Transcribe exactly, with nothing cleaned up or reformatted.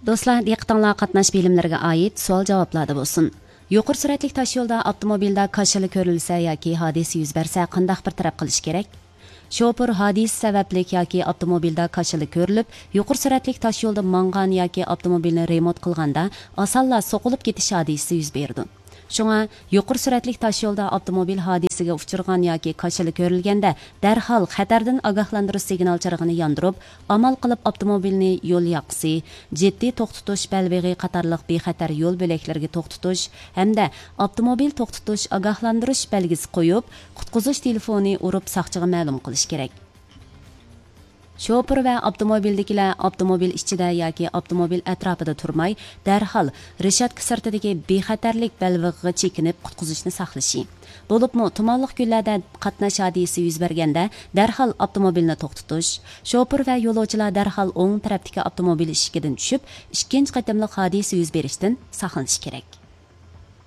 دوستلار، دىققىتىڭلار قاتناش بىلىملىرىگە ئائىت سوئال جاۋابلاردا بولسۇن. يۇقىرى سۈرئەتلىك تاشيولدا ئاپتوموبىلدا كاشىلا كۆرۈلسە ياكى ھادىسە يۈز بەرسە قانداق بىر تەرەپ قىلىش كېرەك؟ شوپۇر ھادىسە سەۋەبلىك ياكى ئاپتوموبىلدا كاشىلا كۆرۈلۈپ، يۇقىرى سۈرئەتلىك تاشيولدا ماڭغان ياكى ئاپتوموبىلنى رېمونت قىلغاندا ئاسانلا سوقۇلۇپ كېتىش ھادىسىسى يۈز بېرىدۇ. شۇڭا يۇقىرى سۈرئەتلىك تاشيولدا ئاپتوموبىل ھادىسىگە ئۇچرىغان ياكى كاشىلا كۆرۈلگەندە، دەرھال خەتەردىن ئاگاھلاندۇرۇش سىگنال چىرىغىنى ياندۇرۇپ، ئامال قىلىپ ئاپتوموبىلنى يول ياقىسى، جىددىي توختىتىش بەلبېغى قاتارلىق بىخەتەر يول بۆلەكلىرىگە توختىتىش ھەمدە ئاپتوموبىل توختىتىش ئاگاھلاندۇرۇش بەلگىسى قويۇپ، قۇتقۇزۇش تېلېفونى ئۇرۇپ ساقچىغا مەلۇم قىلىش كېرەك. شوپۇر ۋە ئاپتوموبىلدىكىلەر ئاپتوموبىل ئىچىدە ياكى ئاپتوموبىل ئەتراپىدا تۇرماي، دەرھال رېشاتكا سىرتىدىكى بىخەتەرلىك بەلبېغىغا چېكىنىپ قۇتقۇزۇشنى ساقلىشى. بولۇپمۇ تۇمانلىق كۈنلەردە قاتناش ھادىسىسى يۈز بەرگەندە، دەرھال ئاپتوموبىلنى توختىتىش، شوپۇر ۋە يولۇچىلار دەرھال ئوڭ تەرەپتىكى ئاپتوموبىل ئىشىكىدىن چۈشۈپ، ئىككىنچى قېتىملىق ھادىسە يۈز بېرىشتىن ساقلىنىشى كېرەك.